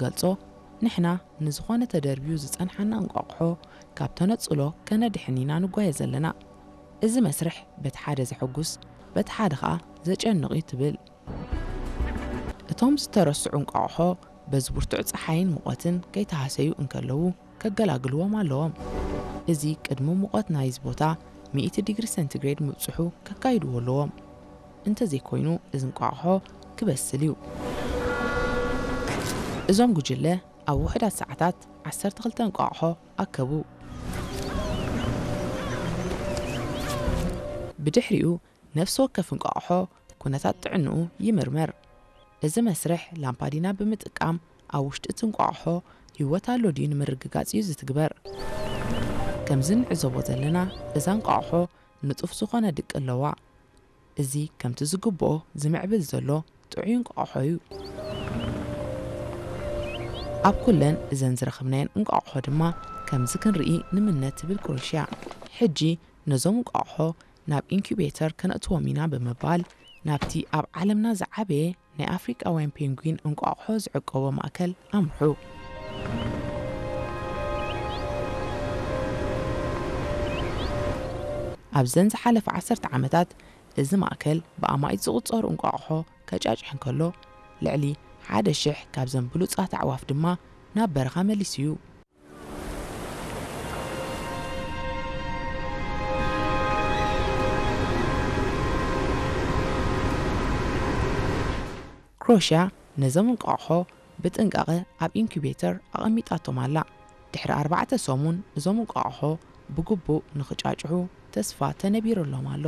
ገልጾ፣ ንሕና ንዝኾነ ተደርብዩ ዝጸንሓና እንቋቑሖ ካብ ተነጽሎ ከነድሕን ኢና ንጓየ ዘለና። እዚ መስርሕ በቲ ሓደ ዘሐጉስ፣ በቲ ሓደ ኸኣ ዘጨንቕ እዩ ትብል። እቶም ዝተረስዑ እንቋቑሖ በዚ ብርቱዕ ጸሓይን ሙቐትን ከይተሃሰዩ እንከለዉ ከገላግልዎም ኣለዎም። እዚ ቅድሚ ሙቐት ናይዚ ቦታ ሚእቲ ዲግሪ ሴንቲግሬድ ምብጽሑ ከካይድዎ ኣለዎም። እንተዘይኮይኑ እዚ እንቋቑሖ ክበስል እዩ። እዞም ጉጅለ ኣብ ውሑዳት ሰዓታት ዓሰርተ ክልተ እንቋቑሖ ኣከቡ። ብድሕሪኡ ነፍሲ ወከፍ እንቋቑሖ ኩነታት ጥዕንኡ ይምርመር። እዚ መስርሕ ላምፓዲና ብምጥቃም ኣብ ውሽጢ እቲ እንቋቑሖ ህይወት ኣሎ ድዩ ንምርግጋጽ እዩ ዝትግበር። ከምዚ ንዕዘቦ ዘለና እዛ እንቋቑሖ ንጡፍ ዝኾነ ድቂ ኣለዋ። እዚ ከምቲ ዝግብኦ ዝምዕብል ዘሎ ጥዑይ እንቋቑሖ እዩ። ኣብ ኩለን እዘን ዝረኸብናየን እንቋቑሖ ድማ ከምዚ ክንርኢ ንምነ ትብል ክሮሽያ። ሕጂ ነዞም እንቋቑሖ ናብ ኢንኩቤተር ከነእትዎም ኢና ብምባል ናብቲ ኣብ ዓለምና ዝዓበየ ናይ ኣፍሪቃውያን ፔንጉዊን እንቋቑሖ ዝዕቀቦ ማእከል ኣምርሑ። ኣብዘን ዝሓለፈ ዓሰርተ ዓመታት እዚ ማእከል ብኣማኢት ዝቑጸሩ እንቋቑሖ ከጫጭሕ እንከሎ፣ ልዕሊ ሓደ ሽሕ ካብዘን ብሉጻት ኣዕዋፍ ድማ ናብ በረኻ መሊሱ እዩ። ክሮሽያ ነዞም እንቋቑሖ ብጥንቃቐ ኣብ ኢንኩቤተር ኣቐሚጣቶም ኣላ። ድሕሪ ኣርባዕተ ሰሙን እዞም እንቋቑሖ ብግቡእ ንኽጫጭሑ ተስፋ ተነቢሩሎም ኣሎ።